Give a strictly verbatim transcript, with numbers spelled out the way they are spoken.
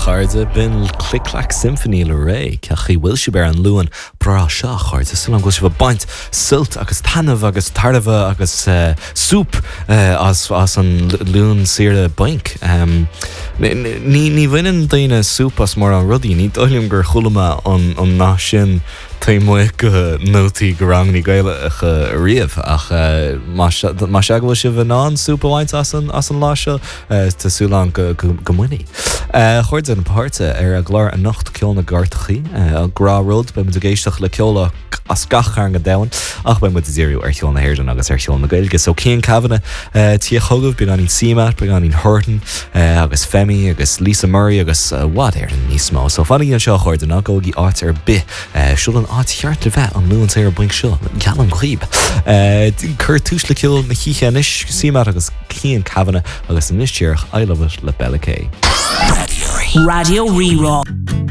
chairde b'in Click Clack Symphony le Ré cén chaoi a bhfuil sibh ar an Luan breá seo chairde súil agam go bhfuil sibh ag baint sult agus taitneamh agus tairbhe agus uh, súp uh, as, as an Luan saoire bainc. Um, ní ní bhaineann daoine súp as mórán rudaí, ní dóigh liom gur chuala mé an, an nath sin taobh go nótaí go ranganna Gaelacha riamh ach uh, má se go bhfuil sibh in ann súp a bhaint as an, as an lá seo uh, tá súil agam go, go, go mbainfidh. Uh, Chairde na páirte ar an gclár anocht ceol na gcairteacha uh, gnáthrud beidh muid ag éisteacht le ceol as gach cearn den domhan ach beidh muid ag díriú ar cheol na hÉireann agus ar cheol na Gaeilge. So Cian Kavanagh uh, tí chugaibh beagáinín CMAT, beagáinín Horton uh, agus Femi agus Lisa Murray agus uh, what ar an níos mó. So fanaigí anseo a chairde ná gabhaigí áit ar bith uh, seo an áit cheart le bheith an Luan saor bainc seo geallaim daoibh. Uh, Cuir tús le ceol na hoíche anois CMAT agus Cian Kavanagh agus anois díreach I love it le Bella K. Raidió Rí-Rá.